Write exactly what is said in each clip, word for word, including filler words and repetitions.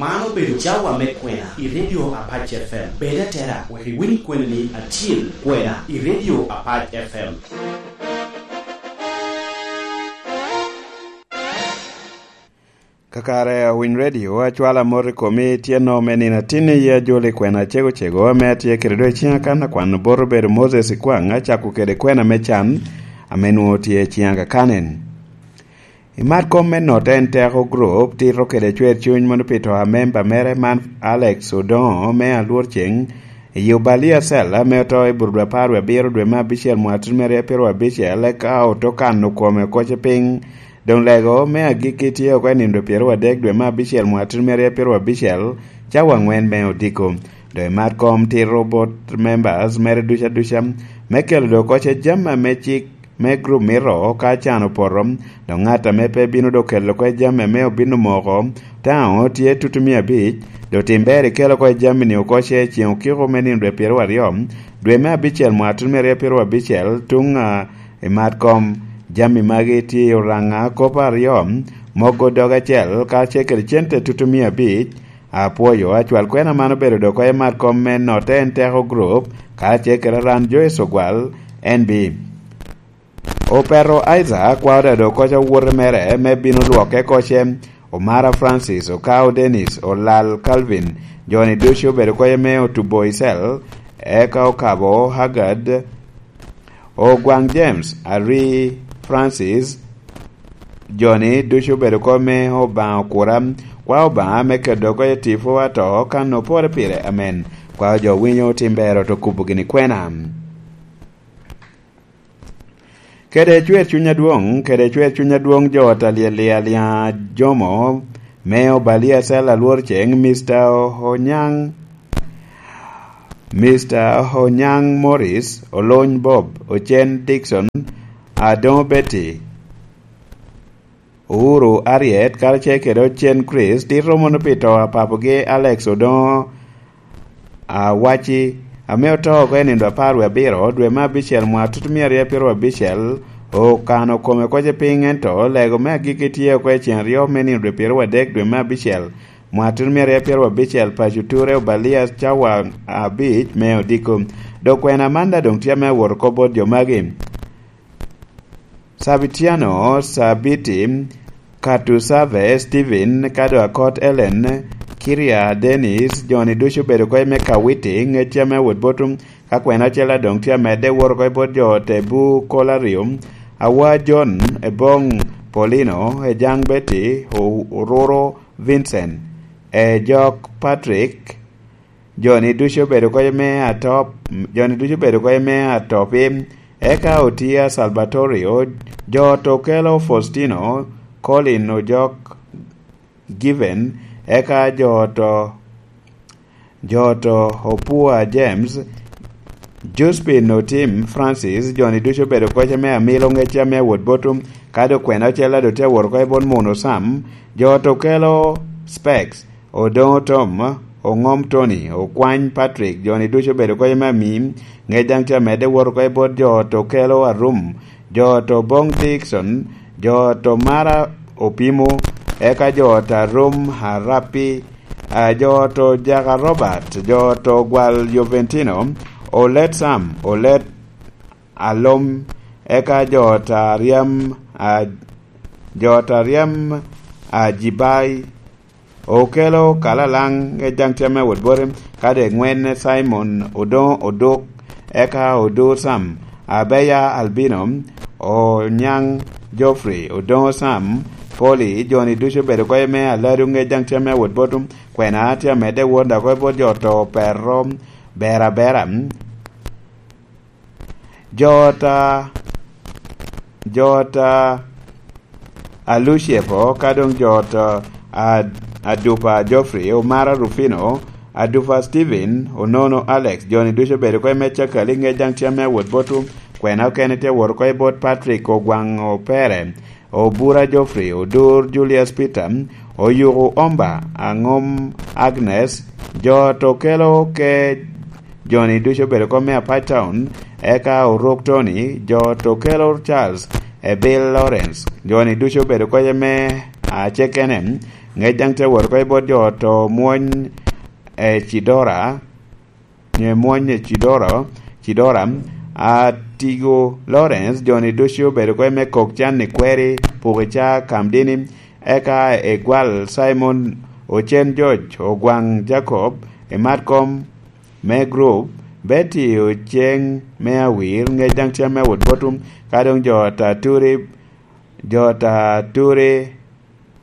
Man obedo cawa me kwena i Radio Apac F M. Bed atera wek iwiny kweni acil kwena i Radio Apac F M. Kakare awiny redio, acwalo amot i komi tyenno me nino atinni i ajol i kwena cego cego ame atye kede do i ciŋa kan akwano bot obedo Moses Ikwaŋ, acako kede kwena me can ame nwoŋo tye i ciŋa kakanen. I mat kom me notte en teko group tito kede cwer cuny mono pi to a memba mere man Alex Odongo me Alwor Ceŋ, i Obalia Cell ame oto i Burudwa apar wie abiro dwe me abicel mwaka tutumia aryo apiro abicel, eka oto kano kome koce piny. Doŋ lego me agikki tye oko i nino pyeraryo adek dwe me abicel mwaka tutumia aryo apiro abicel, cawa aŋwen me odiko. Doŋ i mat kom tito bot members mere duca duca me kelo doŋ koce jami ame cik me group mito ka can opoto, dok ŋat ame pe bino dok kelo kwe jami ame obino moko, taŋo tye tutumia abic, dok tim ber ikelo kwe jami-ni oko ce i ceŋ okiko me nino dwe pyeraryo aryo, dwe me abicel mwaka tutumia aryo pyeraryo abicel, tuŋ a i mat kom. Jami magi tye i Oraŋa kop aryo, mogo dog acel, kacel kede cente tutumia abic. Apwoyo, acwal kwena man obedo dok i mat kom me notte en teko group, kacel kede ran Joyce Ogwal, N B. Opeto Isaac kwao dado koca owote mere me bino lwokke koce, Omara Francis, Okao Dennis, Olal Calvin, joni ducu obedo koca me otubo i cell, eka Okabo Haggard, Ogwaŋ James, Ari Francis, joni ducu obedo koca me Obaŋa okura, kwao Obaŋa me kedo koca tipo ato kan opore pire, amen. Kwao jo winyo tim bero to kubo gini kwena. Kede cwer cuny adwoŋ, kede cwer cuny adwoŋ jo ot alyel i Aliaŋ Ajomo, me Obalia Cell Alwor Ceŋ, Mister Onyaŋ, Mister Onyaŋ Morris, Olony Bob, Ocen Dickson, Adoŋo Betty, Uhuru Harriet, karacel kede Ocen Chris, tito mono pi to a papogi Alex Odoŋo Awaci, ame oto oko i nino apar wie abiro, dwe me abicel, mwaka tutumia aryo pyeraryo abicel, okano kome koce piny, ento lego me agikki tye oko i ceŋ aryo me nino dwe pyeraryo adek dwe me abicel, mwaka tutumia aryo pyeraryo abicel, paco ture Obalia cawa abic me odiko. Dok kwena man daŋ doŋ tye ame awot oko bot jo magi. Sabitiano, Sabiti, Katusave, Steven, Kado Akot, Ellen, Kiria, Dennis, joni ducu obedo koc me Kawiti, ŋec ame wot botum, ka kwena ocel adoŋ tye amedde woro koc bot jo te bu kol aryo, Awa John, Ebong, Paulino, Ejang Betty, O-, Oruro Vincent, Ejok Patrick, joni ducu obedo koc me atop, joni ducu obedo koc me atopi, eka Otia Salvatorio, jo to kelo Faustino, Colin Ojok Given, eka jo to, jo to Opua James, Josephine Otim Francis, joni ducu obedo koc me amilo ŋec ame awot botum, ka dok kwena ocel ado tye awot oko i bot Muno Sam, jo to kelo Specs, Odoŋo Tom, Oŋom Tony, Okwany Patrick, joni ducu obedo koc me ami, ŋec daŋ tye amedde wot oko i bot jo to kelo Arum, jo to Bong Dickson, jo to Mara Opimo, eka jo to Arum Arapi, a, jo to Jaka Robert, jo to Gwal Joventino, Olet Sam, Olet Alom, eka jo to Aryam, a, jo to Aryam Ajibai, Okelo Kalalaŋ, ŋec daŋ tye ame wot bote, kadi eŋwen Simon Odoŋo Odok, eka Odur Sam, Abeya Albino, Onyaŋ Geoffrey, Odoŋo Sam, Poli, joni ducu obedo koc me Aladu, ŋec daŋ tye ame wot botum, kwena tye amedde wot dok koc bot jo to Pero, Bera Bera, jo ta, jo ta Aluciepo, ka doŋ jo to, a, Adupa Geoffrey, Omara Rufino, Adupa Steven, Onono Alex, joni ducu obedo oko i me Cakali, ŋec daŋ tye ame awot botwu, kwena okene tye awot oko i bot Patrick Ogwaŋ Opere, Obura Geoffrey, Odur Julius Peter, Oyuku Omba, Aŋom Agnes, jo to kelo ke joni ducu obedo oko me Apac Town, eka Oruk Tony, jo to kelo Charles, e Bill Lawrence, joni ducu obedo oko i me Acekene, Ŋec daŋ tye wot oko i bot jo oto mwony e Cidora, nye mwony e Cidoro, Cidora, Atigo Lawrence, joni ducu obedo kwe me kok can i kweri, puki ca Kamdini, eka Egwal Simon, Ocen George, Ogwaŋ Jacob, i Matkom me group, Betty Oceng me Awir, ŋec daŋ tye me wot botum, ka doŋ jo Taturi, jo Taturi,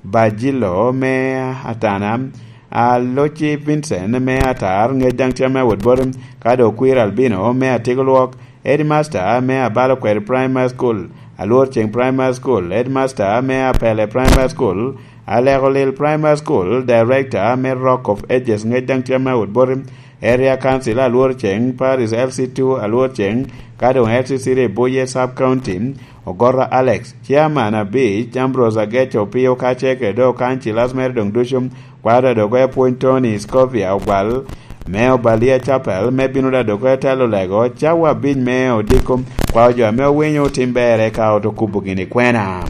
Bajilo me Atana, Aloci Vincent me Atar, ŋec daŋ tye me wot botum, ka doŋ Kwir Albino me Atigo Lwok, Headmaster me Abalo Kweri Primary School, Alwor Ceng Primary School, Headmaster me Apele Primary School, Aleko Lil Primary School, Director me Rock of Ages, ŋec daŋ tye me wot botum, Area Council Alwor Ceng, Paris L C two Alwor Ceng, ka doŋ L C three Buye Sub County, Ogorra Alex, Chairman abic, Ambrose Ageco Opio, ka ce kede Councillors mere doŋ ducu, kwaro da dogo apwony Tony Scovia Ogwal, me Obalia Chapel, me bino da dogo telo lego, cawa abic me odiko, kwao jo ame owinyo tim berre ka oto kubo gini kwena.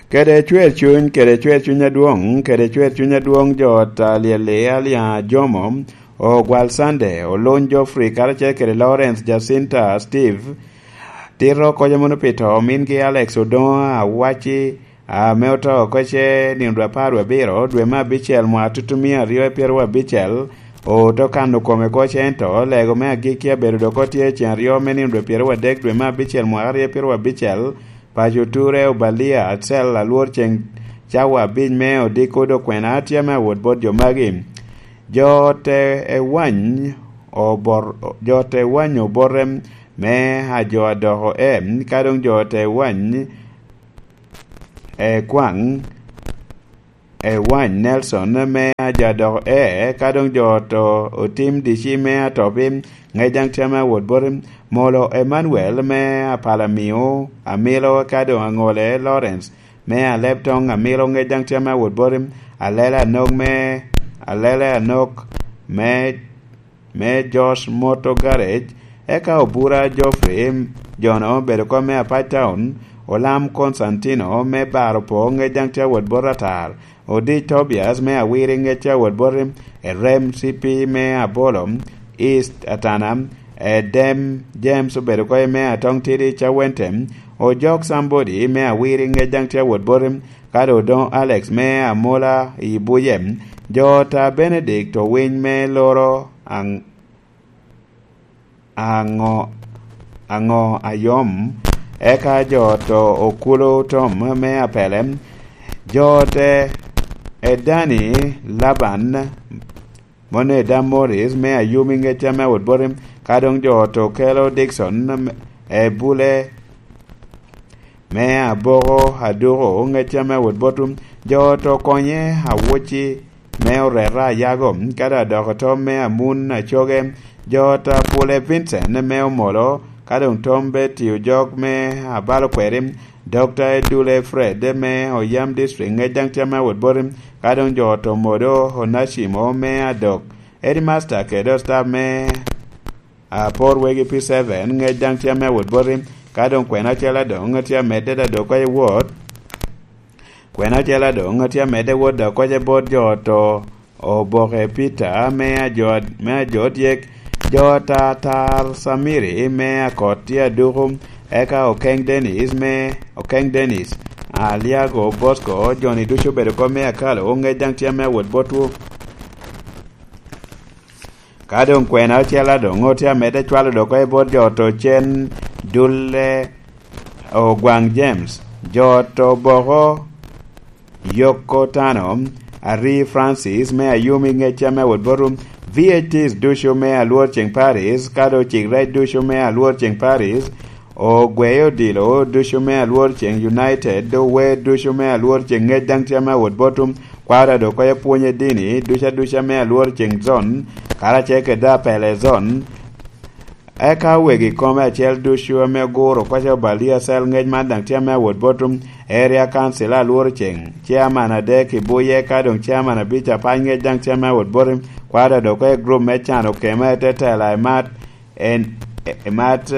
Kede cwer cuny, kede cwer cuny adwoŋ, kede cwer cuny adwoŋ jo ta lyel i Aliaŋ Ajomo, Ogwal Sande, Oluny Geoffrey, karacel kede Lawrence Jacinta Steve, tito koca mono pi to mingi Alex Odoŋo Awaci, ame oto oko ce nino dwe apar wie abiro, dwe me abicel mwaka tutumia aryo e pyero abicel, oto kano kome ko ce ento, lego me agikki abedo dok otye ceŋ aryo me nino dwe pyero adek, dwe me abicel mwaka aryo e pyero abicel, Paco Ture Obalia Acel Alwor Ceng cawa abic me odiko dokwena tye me awot bot jo magi. Jo te ewany obor-, jo te ewany obote me ajo adoko e, ka doŋ jo te ewany ekwaŋ ewany Nelson me ajo adoko e, ka doŋ jo to otim dici me atopi, ŋec daŋ tye me awot boti. Molo Emmanuel me Apalamio, Amilo, ka doŋ Aŋole Lawrence me Alebtoŋ, Amilo, ŋec daŋ tye me awot boti. Alele Anok me, Alele Anok me, me Josh Moto Garage, eka Obura Geoffrey, jono obedo kom me Apac Town, Olam Constantino me Baro Po, ŋec daŋ tye awot bot Atar. Odic Tobias me Awiri, ŋec tye awot boti, Erem C P me Abolo East Atana, Edem James obedo koye me Atong Tidi Cawente, Ojok Somebody me Awiri, ŋec daŋ tye awot boti, ka doŋ Odoŋo Alex me Amola i Buye, jo ta Benedict Owiny me Loro Aŋ-, Aŋo, Aŋo Ayom, eka jo to Okulo Tom me Apele, jo te Edani Laban, mone Edam Morris me Ayumi, ŋec tye me awot boti, ka doŋ jo to Kelo Dikson e Bule, me Aboko Aduko, ŋec tye me awot boti, jo to Konye Awoci me Oreta Ayago, ka doŋ adoko tom me Amun Acoge, jo ta Pule Vincent me Omolo, ka doŋ tom Betty Ojok me Abalo Kweri, Doctor Edule Fred me Oyam District, ŋec daŋ tye me awot boti, ka doŋ jo to Modo Onacimo me Adok, Headmaster kede staff me Apor Wegi P seven, ŋec daŋ tye me awot boti, ka doŋ kwena acel adoŋ tye amedde da dok koce wot. Kwena acel adoŋ tye amedde wot da koce bot jo to Oboke Peter me ajo, me ajo dyek, jo ta Tar Samiri me Akot tye aduku, eka Okeng Dennis me, Okeng Dennis, Aliago Bosco, joni ducu obedo kom me Akalo, ŋec daŋ tye me awot botwu. Ka doŋ kwena ocel adoŋ tye amedde cwalo dok oko i bot jo to cen dulle Ogwaŋ James, jo to boko Yoko Tano, Ari Francis me Ayumi, ŋec tye me awot botum, V H Ts ducu me Alwor Ceng Paris, ka doŋ cik rec ducu me Alwor Ceng Paris, Ogweyo odilo ducu me Alwor Ceng United, ower ducu me Alwor Ceng ŋec daŋ tye me awot botum, kwaro ado koyo pwony i dini ducu aduca me Alwor Ceng zon, karacel kede Apele zon. Eka wegi kome acel ducu ame oguro koca Obalia Cell ŋec man daŋ tye me awot botum, Area Council Alwor Ceng, Chairman adek i Buye, ka doŋ Chairman abic apac ŋec daŋ tye me awot botum, kwaro ado koyo grup me cano kema i te tela i mat, en Emat,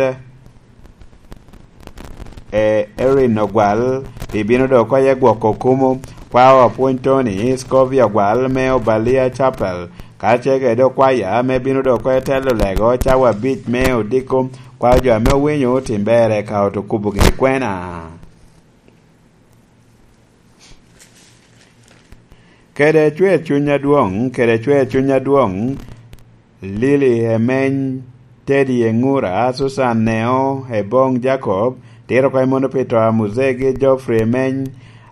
e, Erin Ogwal, ibino dok oko iye gwoko kumo. Kwao Apwony Tony, Scovia Ogwal me Obalia Chapel, kacel kede okwaya ame bino dok oko i telo lego cawa abic me odiko. Kwao jo ame owinyo tim ber eka oto kubo gini kwena. Kede cwer cuny adwoŋ, kede cwer cuny adwoŋ, Lili Emeny, Teddy Eŋura, Susan Neo, Ebong Jacob, tito oko i mono pi to a Muzegi Geoffrey Emeny,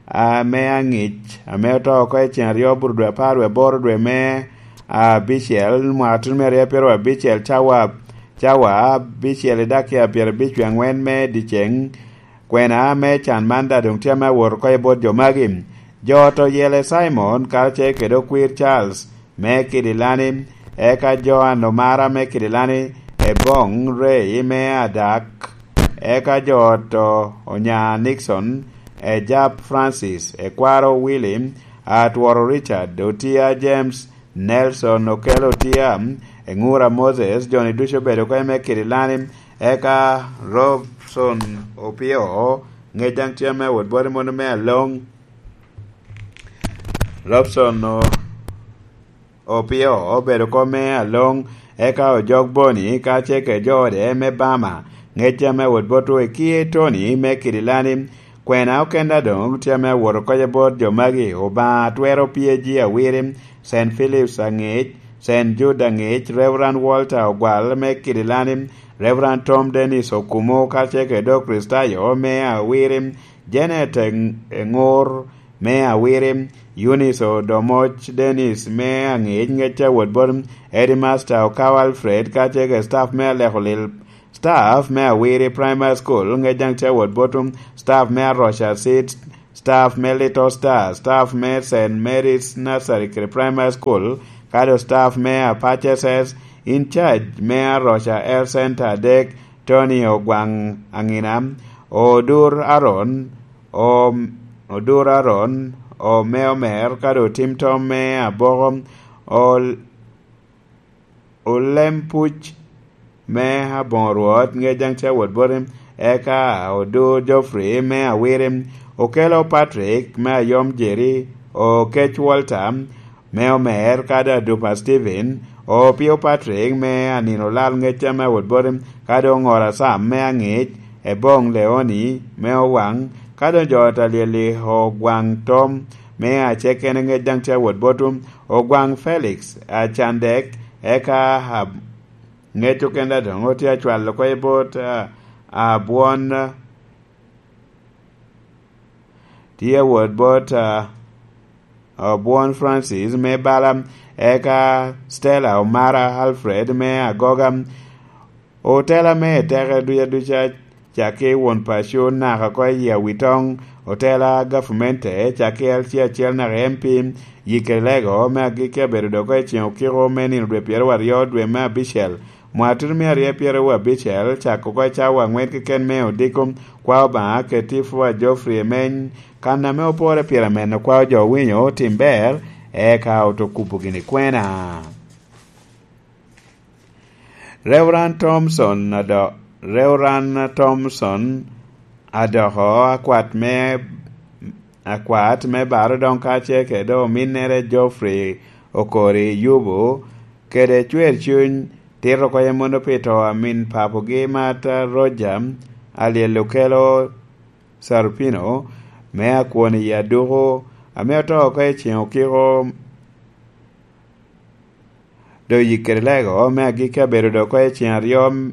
ame aŋic, ame oto oko i cen aryo bur dwe apar dwe aboro dwe me abicel, mwaka tuno me aryo pyero abicel, cawa, cawa abicel i dakika pyerabic wie aŋwen me dyeceŋ. Kwena me can man daŋ doŋ tye ame awot oko i bot jo magi. Jo oto Yele Simon, karacel kede okwir Charles me Kidilani, eka Joan Omara me Kidilani, Ebong Ray me Adak, eka jo oto Onya Nixon, Ejap Francis, Ekwaro Willy, Atworo Richard, Otia James, Nelson Okello Otia, Eŋura Moses, jo-ni ducu obedo oko i me Kidilani, eka Robson Opio, ŋec daŋ tye ame wot boti mono me Aloŋ. Robson O-, Opio obedo oko me Aloŋ, eka Ojok Boni, kacel kede jo ode me Bama, ŋec tye ame wot bot Oekie Tony me Kidilani. Kwena okenda doŋ tye ame awot oko i bot jo magi, Obaŋa twero pye ji awiri, Saint Philip's aŋic, Saint Jude aŋic, Reverend Walter Ogwal me Kidilani, Reverend Tom Dennis Okumu, kacel kede Okricitayo me awiri, Janet Eng-, Eŋur me awiri, Eunice Odomoc Dennis me aŋic, ŋec a wot bot Headmaster Okawa Alfred, kacel kede staff me Aleko Lil, staff me Awiri Primary School, ŋec daŋ tye awot bot staff me Aroca Seed, staff me Little Star, staff me Saint Mary's Nursery kede Primary School, kado staff me Apache S S, in charge me Aroca Health Center adek, Tony Ogwaŋ Aŋina, Odur Aaron, O-, Odur Aaron, Ome Omer, kado Tim Tom me Aboko, Ol-, Olem Puc me Aboŋo Rwot, ŋec daŋ tye awot boti, eka Odur Geoffrey me Awiri, Okelo Patrick me Ayom Jerry, Okec Walter, me Omer, kado Adupa Stephen, Opio Patrick me Anino Lal ŋec ame awot boti, kado Oŋora Sam me Aŋic, Ebong Leoni me Owaŋ, kado jo Talyeli Ogwaŋ Tom me Acekene ŋec daŋ tye awot botwu, Ogwaŋ Felix Acandek, eka a-, ŋec okenda doŋ otye acwalo oko i bot, a, Abwon, tye awot bot, a, Obwon Francis me Bala, eka Stella Omara Alfred me Agoga, otela me teke duca duca, cakki won paco naka oko i Awitoŋ, otela gavumente, cakki L C acel naka M P, yikere lego me agikki abedo dok oko i ceŋ okiko me nino dwe pyeraryo dwe me abicel, mwaka tuno me aryo pyeraryo abicel, cako oko i cawa aŋwen keken me odiko, kwao Obaŋa Ketifu a Geoffrey Emeny, kan ame opore pire meno kwao jo owinyo otim ber, eka oto kubo gini kwena. Reverend Thompson ado-, Reverend Thompson adoko akwat me, akwat me baro doŋ kacel kede ominnere Geoffrey Okori Yubu, kede cwer cuny tito oko i mono pi to a min papogi Martha Roger, Alyel Okelo Sarupino, me akwon i Aduku, ame oto oko i ceŋ okiko, doŋ yikkere lego me agikki abedo doŋ oko i ceŋ aryo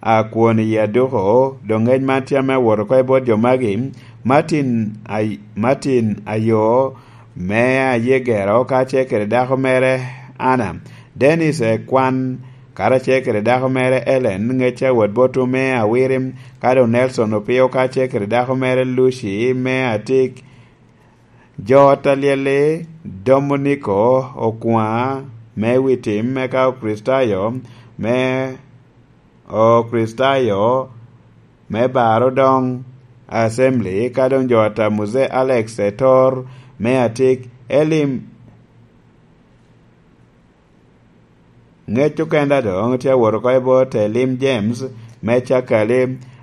a kwon i Aduku, doŋ ŋec man tye ame awot oko i bot jo magi, Martin Ay-, Martin Ayo, me Ayegero, kacel kede dako mere Anna, Dennis Ekwan, karacel kede dako mere Ellen, ŋec awot botwu me Awiri, ka doŋ Nelson Opio, kacel kede dako mere Lucy, me Atik, jo ot Alyeli, Dominiko Okwaŋa, me Witim, eka Okricitayo, me, Okricitayo, me Baro Doŋ Assembly, ka doŋ jo ot a Muzee Alex Etor, me Atik, Elim, ŋec okenda doŋ tye awot oko i bot Elim James, me Cakali,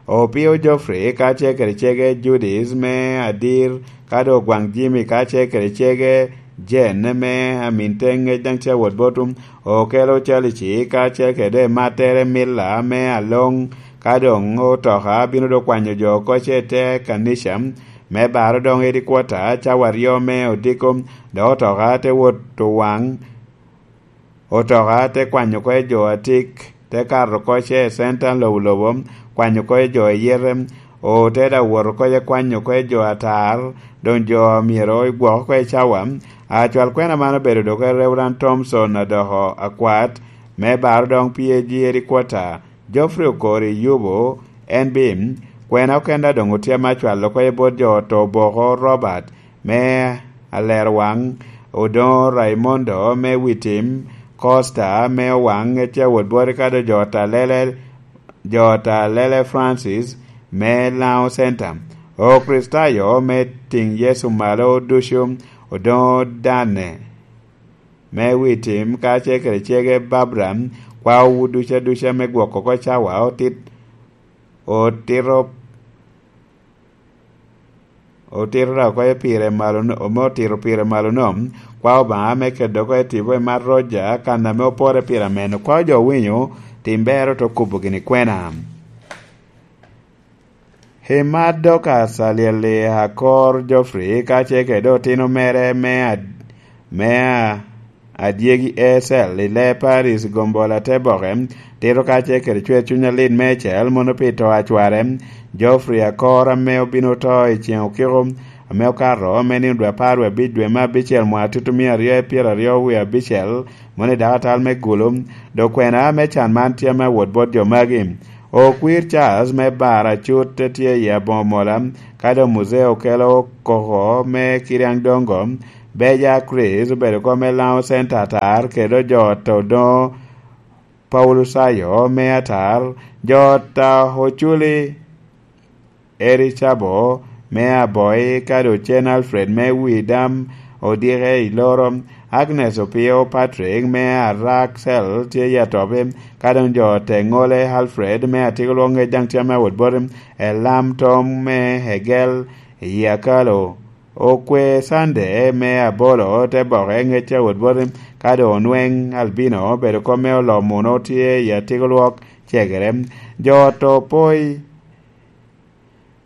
Opio Geoffrey kacel kede cege Judith me Adir, ka doŋ Ogwaŋ Jimmy kacel kede cege Jen me Amin Teŋe daŋ tye awot bot, Okelo Calici kacel kede Matere Milla me Aloŋ, ka doŋ Otoka bino doŋ kwanyo jo oko ce te kanica, me baro doŋ edi kwota cawa aryo me odiko, dok Otoka te wot Owaŋ, Otoka te kwanyo oko i jo atik, te kato oko ce i center lobo lobo, kwanyo oko i jo iyete, ote daŋ wot oko i kwanyo oko i jo atar, doŋ jo myero gwok oko i cawa. Acwal kwena man obedo doŋ i Reverend Thompson Adoko Akwat, me baro doŋ P A G headquarter, Geoffrey Okori Yubo, en bi, kwena okenda doŋ otye ame acwalo oko i bot jo oto Oboko Robert, me Alerwaŋ, Odoŋo Raimondo me Witim, Costa me Owaŋ, Ecewot Bwoti ka doŋ jo Talele, jo Talele Francis me Laŋo Center, Okricitayo me Tiŋ Yecu Malo ducu, Odoŋo Dane me Witim, kacel kede cege Babra, kwaowu ducu aduca me gwoko oko cawa otit, otito otito dok oko i pire malo no, ame otito pire malo no, kwao Obaŋa me kedo oko i tipo i mar Roja, kan ame opore pire ameno. Kwao jo winyo, tim bero te kubo gini kwena. Himar Dorcas Alyel-li Akor Geoffrey, kacel kede otino mere me ad-, me a-, adyegi Ecel i Lee Paris Gombola te boke, tito kacel kede cwer cuny alit meicel mono pi to a cware, Geoffrey Akor ame obino to i ceŋ okiko, ame okato me nino dwe apar wie abic dwe me abicel mwaka tutumia aryo i pyeraryo wie abicel, mono i dakatal me Gulu, dok kwena me can man tye ame awot bot jo magi. Okwir Charles me Bar Acut te tye i aboŋo mola, ka doŋ Muzee Okelo Koko me Kiriaŋ Dongo, Beja Chris obedo kom me Laŋo Center atar, kede jo oto Odoŋo Paulusayo me atar, jo ota Oculi Eri Cabo me Aboi, ka doŋ cen Alfred me Widam odike i Loro, Agnes Opio Patrick me Araksel tye i Atobi, ka doŋ jo ote ŋole Alfred me Atigolwok ŋec daŋ tye ame awot boti, Elam Tom me Egel i Akalo, Okwe Sande me Abolo te boke ŋec awot boti, ka doŋ Onweŋ Albino obedo kom me Olomuno tye i Atigolwok cegere, jo oto Poi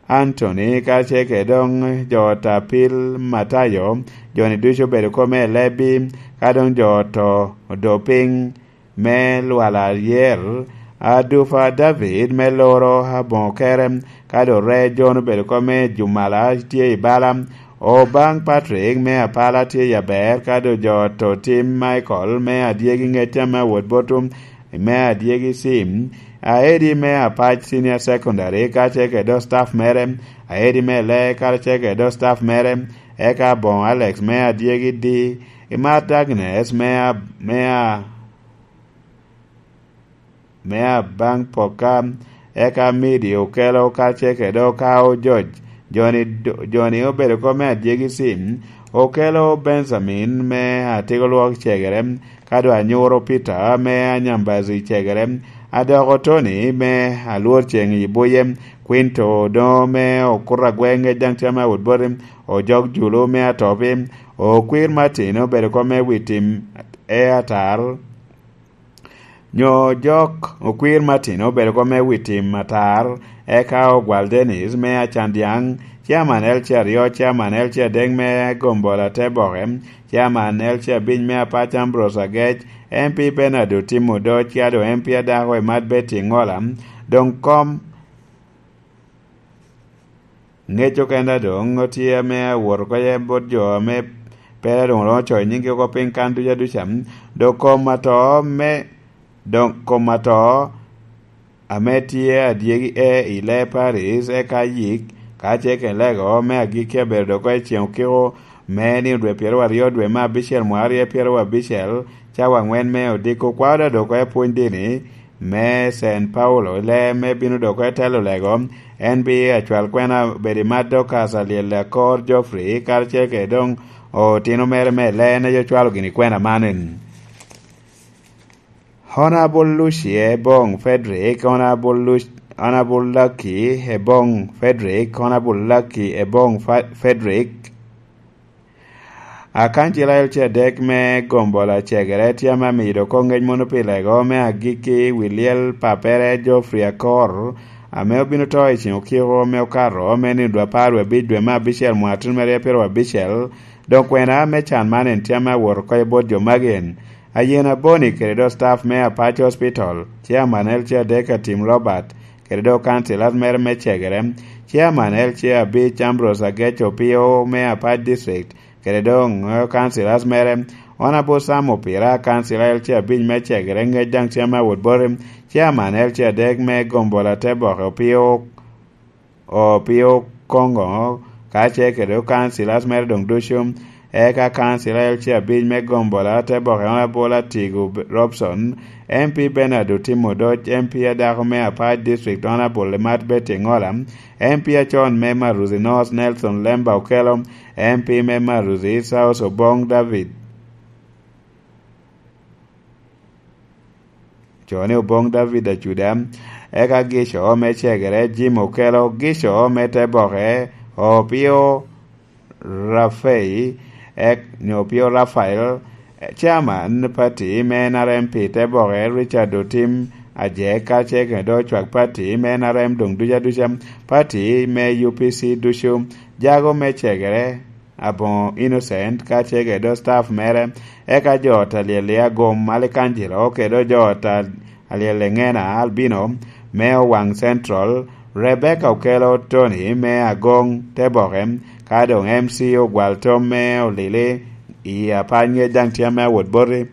Antony, kacel kede doŋ jo ot Apil Matayo, jo-ni ducu obedo kome i lebbi, ka doŋ jo oto odo piny me lwal ayer, Adupa David me loro aboŋo kere, ka doŋ Re Jon obedo kome i Jumala tye i bala, Obaŋ Patrick me Apala tye i aber, ka doŋ jo oto Tim Michael me adyegi ŋecca me awot botum, me adyegi Sim, aedi me Apac Senior Secondary, kacel kede dog staff mere, aedi me Lee, kacel kede dog staff mere, eka aboŋo Alex me adyegi di, Imat Agnes me a-, me a-, me abaŋ Poka, eka Midi Okelo, kacel kede Okao George, jo-ni do-, jo-ni obedo kom me adyegi Sim, Okelo Benjamin me Atigolwok cegere, ka doŋ Anyuro Peter me Anyambazi cegere, Adoko Tony me Alwor Ceŋ i Buye, Quinto Odoŋo me Okuto Agwe ŋec daŋ tye ame awot boti, Ojok Julu me Atobi, Okwir Martin obedo kom me wi tim e atar, nyo Ojok Okwir Martin obedo kom me wi tim atar, eka Ogwal Dennis me Acandyaŋ, Chairman L C aryo, Chairman L C adek me Gombola te boke, Chairman L C abic me Apac Ambrose Agec, M P Bernard Otim Odoc, ka doŋ M P adako Imat Betty Ŋola, doŋ kom ŋec okenda doŋ otye ame awot oko ye bot jo ame pera doŋ romo coyo nyinggi oko piny kan duca duca, doŋ kom ato me, doŋ kom ato ame tye adyegi e i Lee Paris, eka yik, ka ce ken lego me agikki abedo doŋ oko i ceŋ okiko me nino dwe pyeraryo dwe me abicel mwaka aryo pyeraryo abicel, cawa aŋwen me odiko kwao da doŋ oko i pwony dini me Saint Paulo, lee me bino doŋ oko i telo lego, en bi acwal kwena bedo i Mad Dorcas Alyel Akor Geoffrey, karacel kede doŋ otino mere me lee ne yo cwalo gini kwena man. Honorable Lucie Bong Frederick, Honorable Luc-, Honorable Lucky Ebong Frederick, Honorable Lucky Ebong Fa- Frederick, Akancila L C adek me Gombola Cegere tye ame amido oko ngec mono pi lego me agikki wi lyel pappere Geoffrey Akor, ame obino to i ceng okiko me okato me nino dwe apar wie abic dwe me abicel mwaka tyen mere pyero abicel. Dok kwena me can man en tye ame awot oko i bot jo magi en, Ayen Aboni kede dok staff me Apac Hospital, Chairman L C adek Atim Robert, kede dok councillors mere me Cegere, Chairman L C abic Ambrose Agec Opio me Apac District, kede doŋ councillors mere, Honorable Sam Opira, councillor L C abic me Cegere, ŋec daŋ tye ame awot boti, Chairman L C adek me Gombola Teboke Opio Opio Kongo, ka ce kede councillors mere doŋ ducu, eka councillor L C abic me Gombola Teboke Honorable Atigo Robson, M P Bernard Otimo Odoc, M P adako me Apac District Honorable Limat Betty Ngola, M P acon me Maruzi North Nelson Lemba Okello, M P me Maruzi South Obong David Cone Obong David Acuda, eka Gico me Cegere Jim Okello, Gico me Teboke Opio Rafei, ek nyo Opio Rafael, Chairman Party me N R M pi Teboke Richard Otim Ajek, ka ce kede ocwak Party me N R M doŋ duca duca, Party me U P C ducu, jago me Cegere Aboŋo Innocent, ka ce kede staff mere, eka jo ot alyel i Agom Alikanjilo kede jo ot alyel i Ŋena Albino me Owaŋ Central, Rebecca Okello Tony me Agoŋ Teboke, ka doŋ M C Ogwal Tom me Olili i Apany ŋec daŋ tye ame awot boti.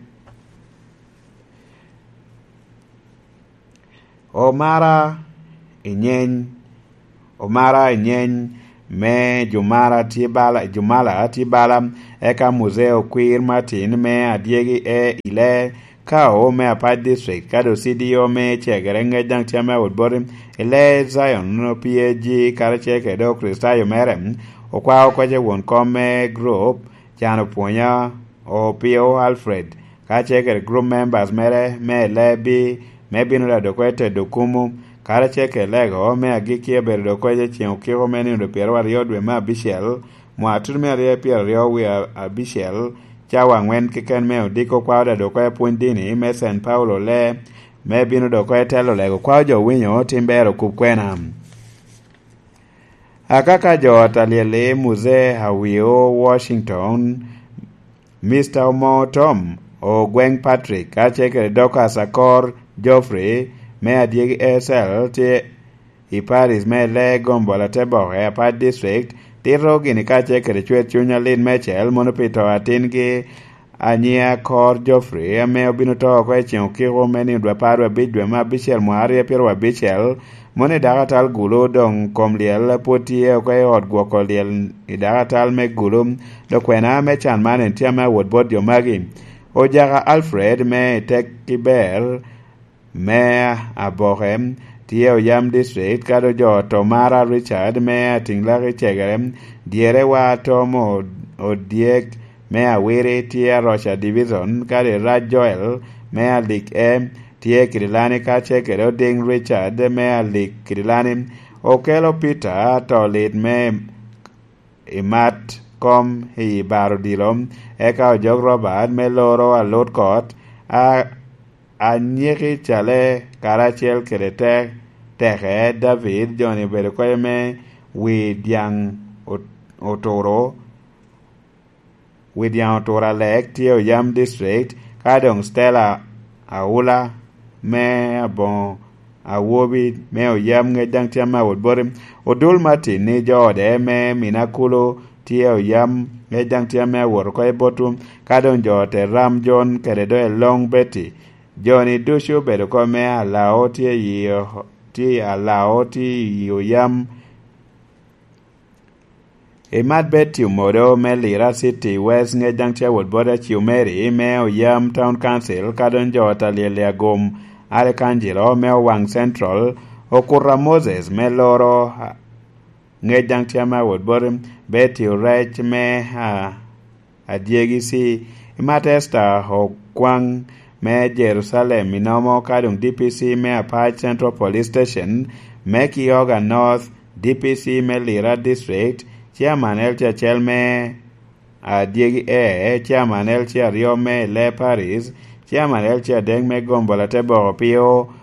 Omara i nyeny, Omara i nyeny me Jumara tye bala, Jumala tye bala, eka Muzee Okwir Martin me Adyegi e i Lee Kao me Apac District, ka doŋ C D O me Cegere ŋec daŋ tye ame awot boti i Lee Zion P A G karacel kede Okricitayo mere, Okwao Koc won kom me group, Can Opwonya, Opio Alfred, ka ce kede group members mere me Lebi, me bino rado oko i tedo kumu, karacel kede lego me agikki abedo dok oko i ceŋ okiko me nino pyeraryo dwe me abicel, mwaka tutu me aryo pyeraryo wie abicel, cawa aŋwen keken me odiko kwao rado oko i pwony dini me Saint Paulo Lee, me bino dok oko i telo lego kwao jo winyo tim ber okub kwena. Akaka jo ot alyel i Muzee Awio Washington, Mister Omo Tom Ogweng Patrick, ka ce kede Dorcas Akor Geoffrey me Adyegi A S L tye i Paris me Lee Gombola Teboke Apac District, tito gini ka ce kede cwer cuny alit meicel mono pi to atingi Anyia Kor Geoffrey, ame obino to oko i ceŋ okiko me nino dwe apar wie abic dwe me abicel mwaka aryo pyeraryo abicel, mono i dakatal Gulu doŋ kom lyel pwod tye oko i ot gwoko lyel i dakatal me Gulu, dok kwena me can man en tye ame awot bot jo magi. Ojaka Alfred me i Tekki Ber, me Aboke, tye Oyam District, kadi ojo Tomara Richard me Atinglaki Cegere, dyere wa Tom O-, Odyek me Awiri tye Aroca Division, kadi Rac Joel me Alik E tye Kidilani, ka ce kede Oding Richard me Alik Kidilani, Okelo Peter Tolit me i mat kom i bar odilo, eka ojok Robert me loro alut kot, a, anyiki cale karacel kede te-, teke David, joni obedo kede me wi dyaŋ ot-, oturo, wi dyaŋ oturo Alek tye Oyam District, ka doŋ Stella Aula me Aboŋo Awobi me Oyam ŋec daŋ tye ame awot boti. Odul Martin ni jo ode me Minakulu tye Oyam ŋec daŋ tye ame awot oko i botwu, ka doŋ jo te Ram Jon kede doŋ Elong Betty. Joni ducu obedo oko me Alao tye i, tye i Alao tye i Oyam. I Mat Betty Omodo me Lira City West ŋec daŋ tye awot bot Aci Omeri me Oyam Town Council, ka doŋ jo ot alyel i Agom Arcangelo me Owaŋ Central, Okuta Moses me Loro ŋec daŋ tye ame awot bot Betty Orec me, a, Adyegi C. I Mat Esther Okwaŋ me Jerusalem i Nomo, ka doŋ D P C me Apac Central Police Station me Kioga North, D P C me Lira District, Chairman L C acel me Adyegi E, Chairman L C aryo me Ile Paris, Chairman L C adek me Gombola Teboko Pio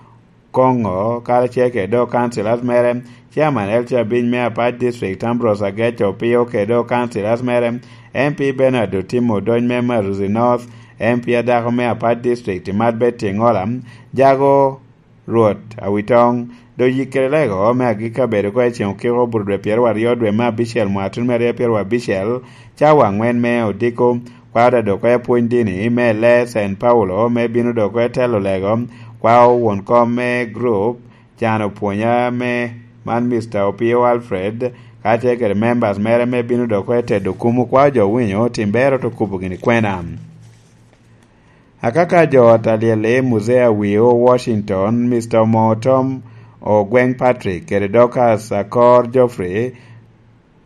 Kongo, karacel kede dok councillors mere, Chairman L C abic me Apac District Ambrose Ageco Pio kede dok councillors mere, M P Bernard Otimo Odony me Maruzi North, M P adako me Apac District Imat Betty Ngola, Jago Rwot Awitong, dok yikkere lego me agikki abedo oko i ceŋ okiko obuto dwe pyeraryo dwe me abicel mwaka tun me aryo pyerabicel, cawa angwen me odiko, kwao dado oko i apwony dini me lee Saint Paulo me bino dok oko i telo lego, kwao won kom me group, can opwonya me man Mister Opio Alfred, kacel kede members mere me bino dok oko i tedo kumu, kwao jo winyo tim bero to kubo gini kwena. Akaka jo ot alyel i Muzea Wio, Washington, Mister Omoo Tom Ogweng Patrick kede Dorcas Akor Geoffrey,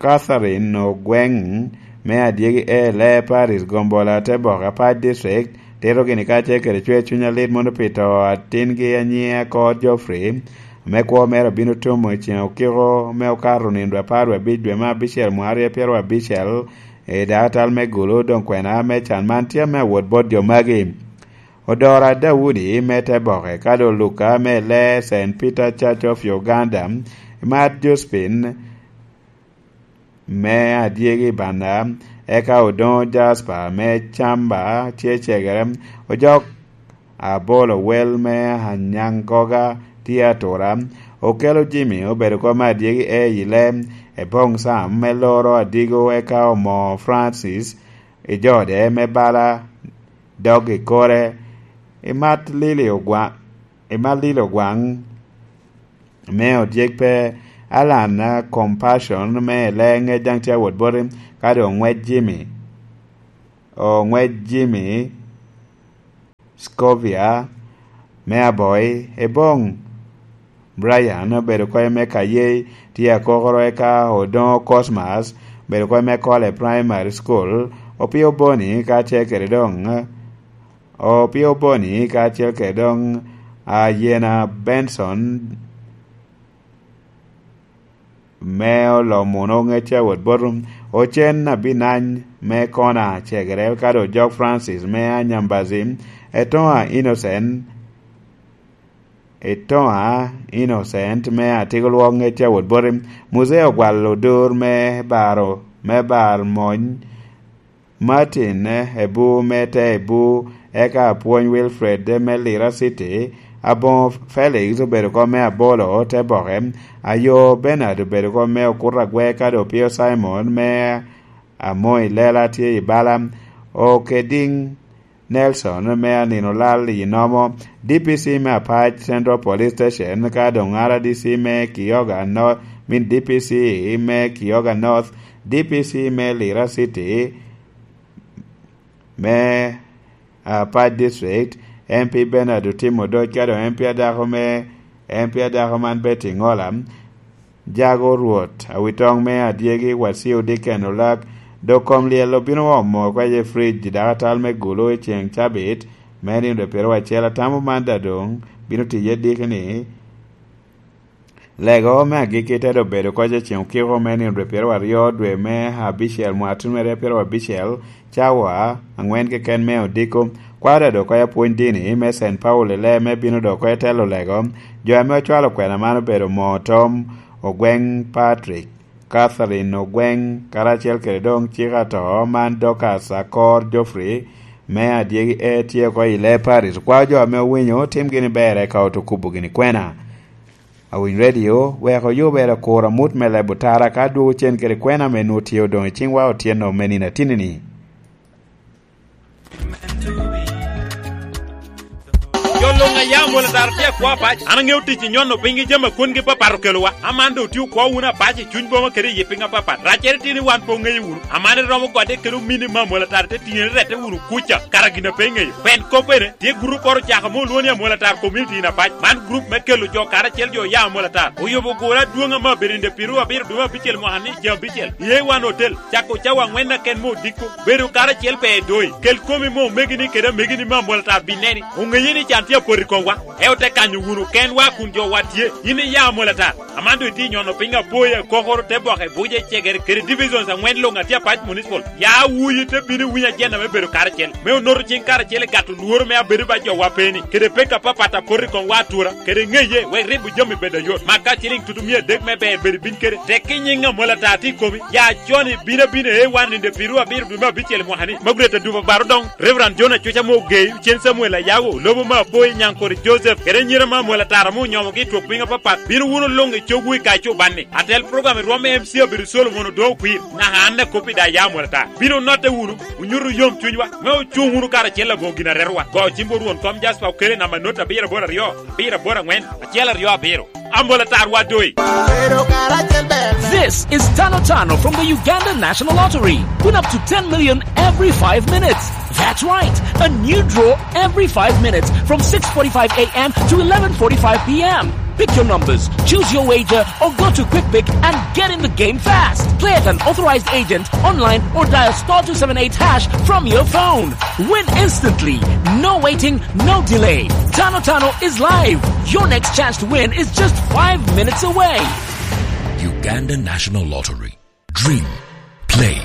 Catherine Ogweng me Adyegi E, Lee Paris, Gombola, Tebok, Apac District, tito gini kacel kede cwer cuny alit mono pi to atingi anyiŋe Akor Geoffrey, ame kwo mere obino tumo i ceŋ okiko me okato nino dwe apar wie abic dwe me abicel mwaka aryo pyeraryo abicel, i dakatal me Gulu, doŋ kwena me can man tye ame awot bot jo magi. Odora Daudi me Teboke, kadi Oluka me Lee Saint Peter Church of Uganda, Mat Josephine me Adyegi Banda, eka Odoŋo Jasper me Camba tye cegere, Ojok Abolo Wel me Anyaŋgoga tye atura, Okelo Jimmy obedo kom Adyegi E i Ile, Eboŋ Sam me Loro Adigo, eka Omoo Francis, Ijode me Bala, dog i kore, Imat Lili Ogwa-, Imat Lili Ogwaŋ me Odyek pe, Alan, ah, Compassion me Leŋe Jaŋ tye awot boti, kadi Oŋwec Jimmy, Oŋwec Jimmy Scovia me Aboi, Eboŋ Brian obedo kome me Kayei tye akokoro, eka Odoŋo Cosmas obedo kome me Kole Primary School, Opio Boni kacel kede doŋ, Opio Boni kacel kede doŋ Ayena Benson me Olomuno Ŋecce awot bot Ocen Abinany me Kona cegere, kadi Ojok Francis me Anyambazi, Etoŋa Innocent, Etoŋa Innocent me Atiko Lwok Ŋecce awot boti, Muzee Ogwal Odur me Baro, me Bar Mony, Martin, eh, Ebu me te Ebu, eka Apwony Wilfred, eh, me Lira City, Aboŋo Felix obedo kom me Abolo, te Boke, Ayo Bernard obedo kom me Okuto Agwe, kadi Opio Simon me Amoi Lela tye i Bala, Okediŋ Nelson me Anino Lal i Nomo, D P C me Apac Central Police Station, ka doŋ R D C me Kioga North, min D P C me Kioga North, D P C me Lira City, me, ah, Apac District, M P Bernard Otimo Odoc, ka doŋ M P adako me, M P adako man Betty Ngola, Jago Rwot, Awitoŋ me Adyegi, Waciu Dicken Olak, dok kom lyel obino omo kwaje i fridge i dakatal me Gulu i ceŋ cabit, me nino dwe pyeraryo acel, atamo man daŋ doŋ bino tiye diki ni, Lego me agikki te dobedo koc i ceŋ okiko me nino dwe pyeraryo dwe me abicel mwaka tun mere pyeraryo abicel, cawa angwen keken me odiko, kwaro dok koc apwony dini me Saint Paul i lee me bino dok koc i telo lego. Jo ame ocwalo kwena man obedo Moo Tom Ogweng Patrick, Catherine Ogweng, karacel kede doŋ cik ato man Dorcas Akor Geoffrey me Adyegi E tye oko i lee Paris. Kwao jo ame owinyo, tim gini ber eka oto kubo gini kwena. Awiny Radio wek oyubere kur amut me leb otara ka adwogo cen kede kwena ame nwoŋo tye odoŋ i ciŋwa otyeno me nino atinni-ni. Jo luŋ a ya Amwolatara tye akwo apac. An aŋeo tic i nyono piny gi jami a kwongi papat okelowa. Aman doŋ otye okwo wunu apac i cuny boma kede i yi piny apapat. Raccere tye ni wan pe oŋeyo wunu. Aman iromo gode kede omini me Amwolatara te tiŋe ni rette wunu kuca, kara gin a pe iŋeyo. Pien kop bene tye gurup oro ocako ame olwoŋo ni Amwolatara Community in Apac. Man gurup me kelo jo karacel jo oya Amwolatara. Oyubo gure adwoŋ ame abedo i nino pyeraryo abiro dwe me abicel mwaka ni ceŋ abicel. I A one Hotel, cako cawa aŋwen aken me odiko. Bedo karacel pe edoi. Kel komi me omegini kede amegini me Amwolatara bineni. Oŋeye ni can tye apoto Komwa, eo te kanyo wunu kenwa kun jowa tye. Yin iya Amolatar. Aman doŋ itye nyono piny apoya kokoro te boke buce cegere kede divisions angwen luŋ atye apac municipal. Ya wuyi te bino iwiny ajenda me bedo karacel. Me onoto cing karacel i gato lworo me abedo ba jowa peni. Kede pek apapat apot i komwa atura. Kede ŋeye wek ribo jami bedo ayot. Maka ciliŋ tutu mia adek me ber bedo bin kede. Tek i nyiŋ Amolatar tye i komi. Ya con ibino abino e wan ninde piru abiro dwe me abicel mwaka ni. Magret adubo baro doŋ. Reverend John Acuca mo ogei, Cen Samuel Ayago, lobo ma apoyi Nyankore Joseph, kede anyira ma Amolatar ame onyomogi i twok piny apapat, bino wunu luŋ i cogwu i kaco banni. Atel program i rwom me M C Abiro Solomon Odongo Kwir, naka an akop i daya Amolatar. Bino notte wunu, onyuto yom cunywa, me ocuŋ wunu karacel aboŋo gin aretowa. Go cim bot Rwon kom Jasper Okele namba not abiro aboro aryo, abiro aboro aŋwen, acel aryo abiro. Amolatar wa doi. This is Tano Tano from the Uganda National Lottery. Win up to ten million every five minutes. That's right, a new draw every five minutes from six forty-five a m to eleven forty-five p m. Pick your numbers, choose your wager, or go to QuickPick and get in the game fast. Play at an authorized agent, online, or dial star two seven eight hash from your phone. Win instantly. No waiting, no delay. Tano Tano is live. Your next chance to win is just five minutes away. Uganda National Lottery. Dream, play,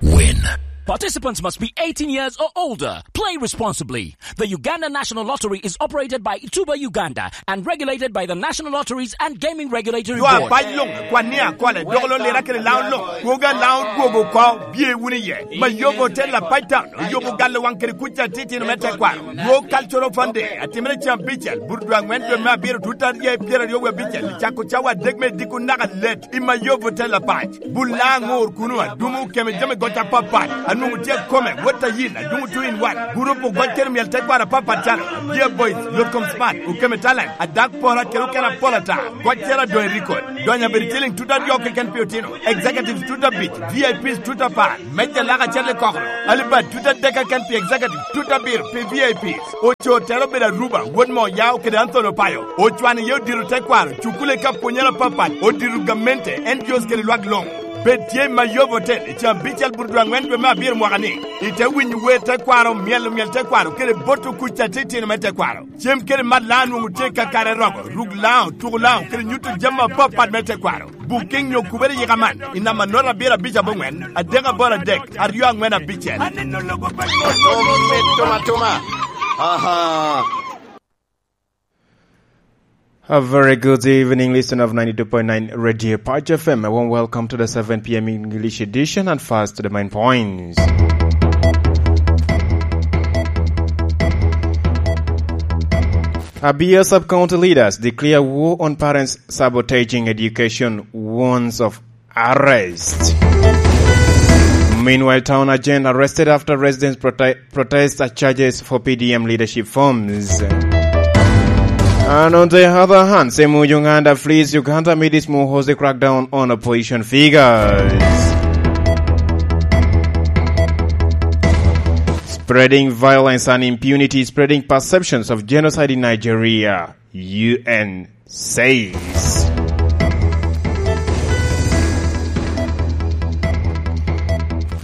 win. Participants must be eighteen years or older. Play responsibly. The Uganda National Lottery is operated by Tuba Uganda and regulated by the National Lotteries and Gaming Regulatory Board. Apac luŋ, kwan ni akole, dok lo lira kede laun luŋ, kwoga laun kwogo oko, bye wunu iye. Mayobo Hotel Apac Town, oyobo galo waŋ kede kuc atitino me tekwaro. World Cultural Fund Day, atimere cen abicel, burudwa aŋwen dwe me abiro, tut aryo i pyeraryo wie abicel, cako cawa adek me diko naka let, i Mayobo Hotel Apac. Bul laŋ ŋor kuno, adumo keme jami goc apapat, anwoŋo tye akome, wot a yin, adumo two in one. Gurup ogoc kede myel tekwaro apapat calo, Dear Boys, Yotkom Smart, Okeme Talent, Adak Pora kede okene apol ata, goc cero adoŋ i record. Donyo abedo ciliŋ tut aryo keken pi otino, executives tut abic, V I Ps tut apar, meja lak acel i kokoro, alibad tut adek keken pi executive, tut abiro pi V I Ps. Ocoo tero obedo Aruba, wot mo Yao kede Anthony Opayo. Ocwano iye odiro tekwaro, cukule ka pwonyere apapat, odiro gamente, N G Os kede lwak luŋ. Bed tye i Mayobo Hotel i caa abicel burudwa aŋwen dwe me abiro mwaka ni. Ite winyo wer tekwaro, myelo myel tekwaro, kede boto kuc atitino me tekwaro. Cem kede mat laŋo nwoŋo tye kakare romo, ruk laŋo, tuko laŋo, kede nyuto jami apapat me tekwaro. Booking nyo kubere yika man, i namba nota abiro abic aboŋwen, adek aboro adek, aryo aŋwen abicel. Aneno lobo pa Tom, tom, tom, tom. Aha. A very good evening, listener of ninety-two point nine Radio Patch F M. A warm welcome to the seven p m English edition, and first to the main points. Abia Sub-County leaders declare war on parents sabotaging education, warns of arrest. Meanwhile, town agent arrested after residents prote-, protest charges for P D M leadership forms. And on the other hand, Semuju Nganda flees Uganda amidst Muhoozi crackdown on opposition figures. Spreading violence and impunity, spreading perceptions of genocide in Nigeria, U N says.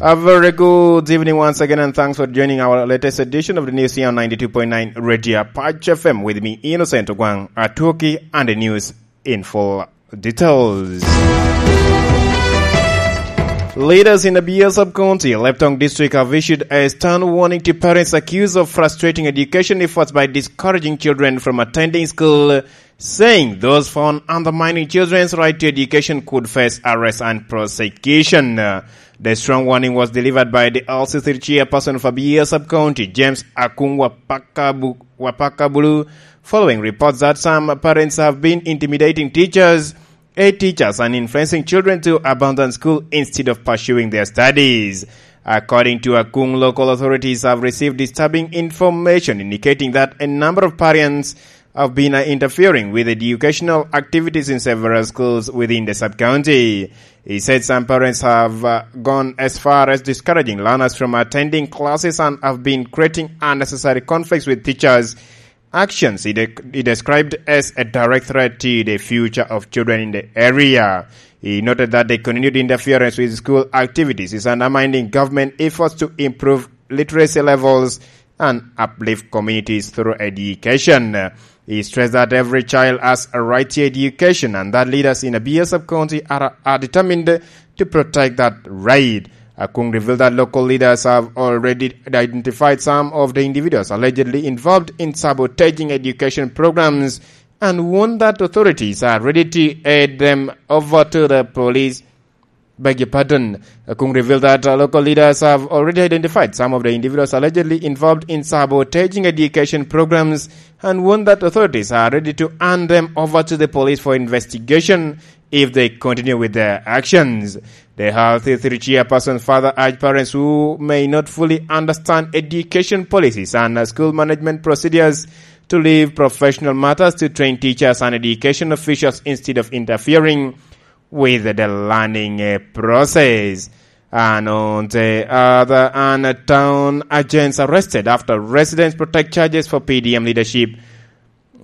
A very good evening once again, and thanks for joining our latest edition of the news here on ninety-two point nine Radio Patch F M. With me, Innocent Ogwang Atuoki, and the news in full details. Leaders in the Abia Sub-County, Leptong District, have issued a stern warning to parents accused of frustrating education efforts by discouraging children from attending school, saying those found undermining children's right to education could face arrest and prosecution. Uh, the strong warning was delivered by the L C three chairperson of Abia Sub-County, James Akung Wapakabu-, Wapakabulu, following reports that some parents have been intimidating teachers, aid teachers, and influencing children to abandon school instead of pursuing their studies. According to Akung, local authorities have received disturbing information indicating that a number of parents have been, uh, interfering with educational activities in several schools within the sub-county. He said some parents have, uh, gone as far as discouraging learners from attending classes and have been creating unnecessary conflicts with teachers, actions he de-, he described as a direct threat to the future of children in the area. He noted that the continued interference with school activities is undermining government efforts to improve literacy levels and uplift communities through education. He stressed that every child has a right to education and that leaders in Abyei sub-county are, are determined to protect that right. Akung revealed that local leaders have already identified some of the individuals allegedly involved in sabotaging education programs and warned that authorities are ready to hand them over to the police. Beg your pardon. Akung revealed that uh, local leaders have already identified some of the individuals allegedly involved in sabotaging education programs and warned that authorities are ready to hand them over to the police for investigation if they continue with their actions. The Health Authority chairperson further urged parents who may not fully understand education policies and uh, school management procedures to leave professional matters to trained teachers and education officials instead of interfering with the learning uh, process. And on the other hand, town agents arrested after residents protect charges for P D M leadership.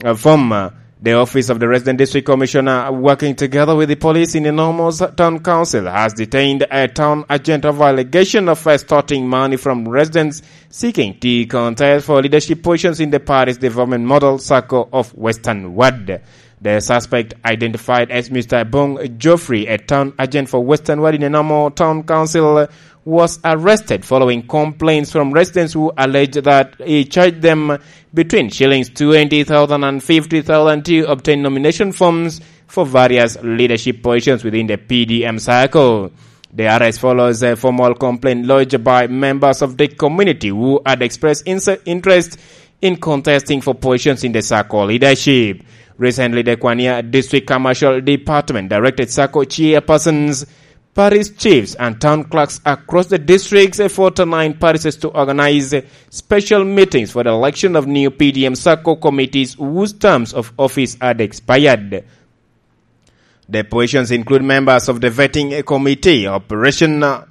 Uh, from uh, the office of the resident district commissioner, working together with the police in Enormo's town council, has detained a town agent of allegation of extorting money from residents seeking to contest for leadership positions in the parish development model circle of Western Ward. The suspect, identified as Mister Bong Geoffrey, a town agent for Western Ward in Enormo Town Council, was arrested following complaints from residents who allege that he charged them between shillings twenty thousand and fifty thousand to obtain nomination forms for various leadership positions within the P D M circle. The arrest follows a formal complaint lodged by members of the community who had expressed inse- interest in contesting for positions in the circle leadership. Recently, the Kwania District Commercial Department directed circle chairpersons, parish chiefs, and town clerks across the districts, eh, forty-nine parishes to organize, eh, special meetings for the election of new P D M circle committees whose terms of office had expired. The positions include members of the vetting committee, operation, uh,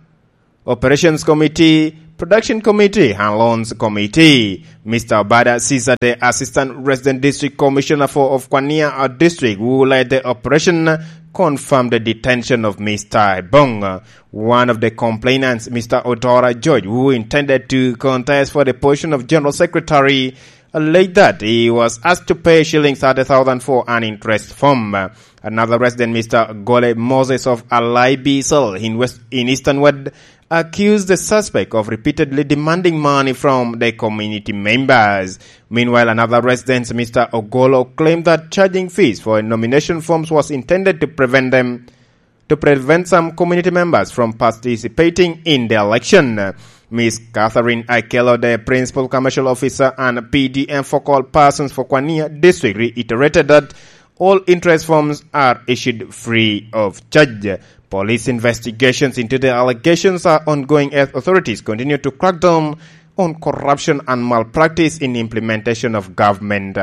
operations committee, production committee, and loans committee. Mister Obada Caesar, the assistant resident district commissioner for of Kwania uh, district, who led the operation, confirmed the detention of Mister Ebong. One of the complainants, Mister Otora George, who intended to contest for the position of general secretary, alleged that he was asked to pay shillings thirty thousand for an interest form. Another resident, Mister Gole Moses of Alai Bisol in West, in Eastern Ward, accused the suspect of repeatedly demanding money from the community members. Meanwhile, another resident, Mister Ogolo, claimed that charging fees for nomination forms was intended to prevent them to prevent some community members from participating in the election. Miss Catherine Akelo, the principal commercial officer and P D M focal persons for Kwania district, reiterated that all interest forms are issued free of charge. Police investigations into the allegations are ongoing as authorities continue to crack down on corruption and malpractice in implementation of government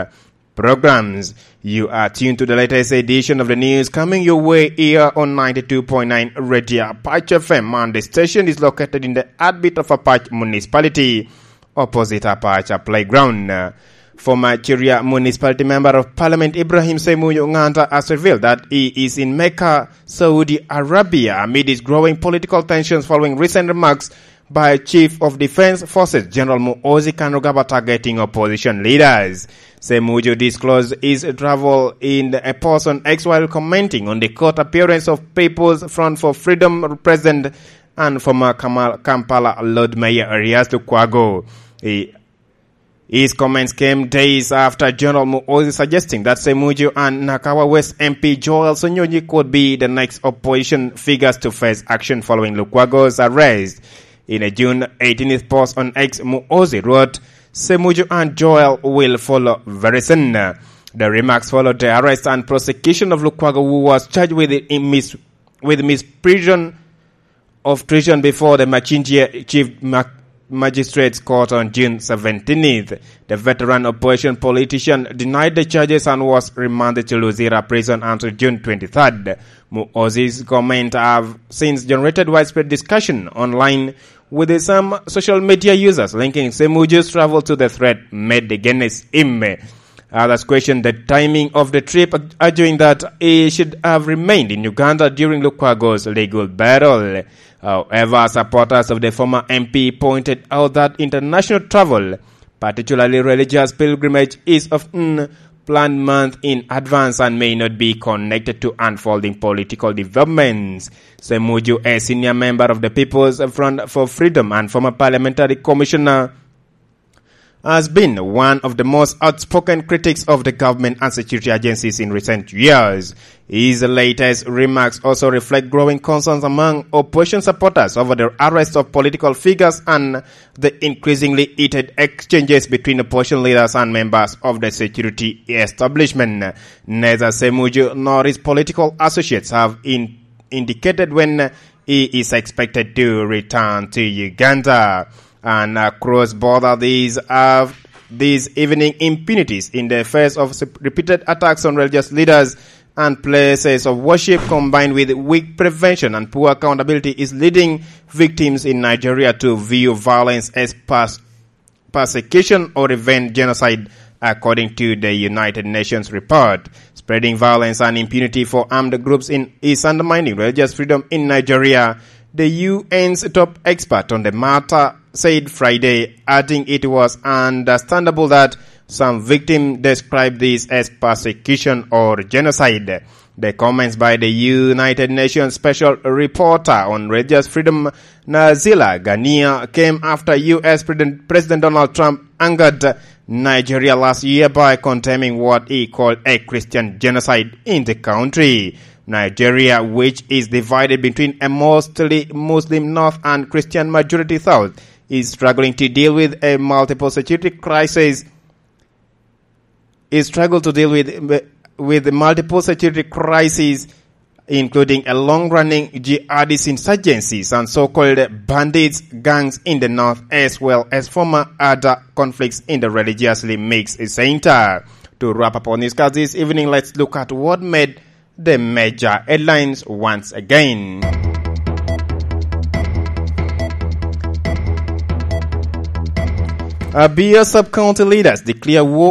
programs. You are tuned to the latest edition of the news coming your way here on ninety-two point nine Radio Apache F M, and the station is located in the heartbeat of Apache Municipality, opposite Apache Playground. Former Chiria Municipality Member of Parliament Ibrahim Semuyo Nganta has revealed that he is in Mecca, Saudi Arabia, amid his growing political tensions following recent remarks by Chief of Defense Forces General Muhoozi Kainerugaba targeting opposition leaders. Semuju disclosed his travel in a post on X while commenting on the court appearance of People's Front for Freedom President and former Kamal- Kampala Lord Mayor Erias Lukwago. He His comments came days after General Muhoozi suggesting that Semuju and Nakawa West M P Joel Sonyonyi could be the next opposition figures to face action following Lukwago's arrest. In a June eighteenth post on X, Muhoozi wrote, "Semuju and Joel will follow very soon." The remarks followed the arrest and prosecution of Lukwago, who was charged with, in mis- with misprision of treason before the Machinjia Chief Ma- Magistrates Court on June seventeenth. The veteran opposition politician denied the charges and was remanded to Luzira prison until June twenty-third. Muhoozi's comments have since generated widespread discussion online, with some social media users linking Semuju's travel to the threat made against him. Others question the timing of the trip, arguing that he should have remained in Uganda during Lukwago's legal battle. However, supporters of the former M P pointed out that international travel particularly religious pilgrimage, is often planned months in advance and may not be connected to unfolding political developments. Semuju, a senior member of the People's Front for Freedom and former parliamentary commissioner, has been one of the most outspoken critics of the government and security agencies in recent years. His latest remarks also reflect growing concerns among opposition supporters over the arrest of political figures and the increasingly heated exchanges between opposition leaders and members of the security establishment. Neither Semuju nor his political associates have in-, indicated when he is expected to return to Uganda. And across border, these are these evening impunities in the face of sup-, repeated attacks on religious leaders and places of worship, combined with weak prevention and poor accountability, is leading victims in Nigeria to view violence as pers-, persecution or even genocide, according to the United Nations report. Spreading violence and impunity for armed groups in, is undermining religious freedom in Nigeria, the U N's top expert on the matter said Friday, adding it was understandable that some victims described this as persecution or genocide. The comments by the United Nations Special Reporter on Religious Freedom, Nazila Ghania, came after U S President, President Donald Trump angered Nigeria last year by condemning what he called a Christian genocide in the country. Nigeria, which is divided between a mostly Muslim north and Christian majority south, is struggling to deal with a multiple security crisis, is struggle to deal with, with the multiple security crises, including a long-running jihadist insurgencies and so-called bandits gangs in the north, as well as former other conflicts in the religiously mixed center. To wrap up our newscast this evening, let's look at what made the major headlines once again. Abia sub-county leaders declare war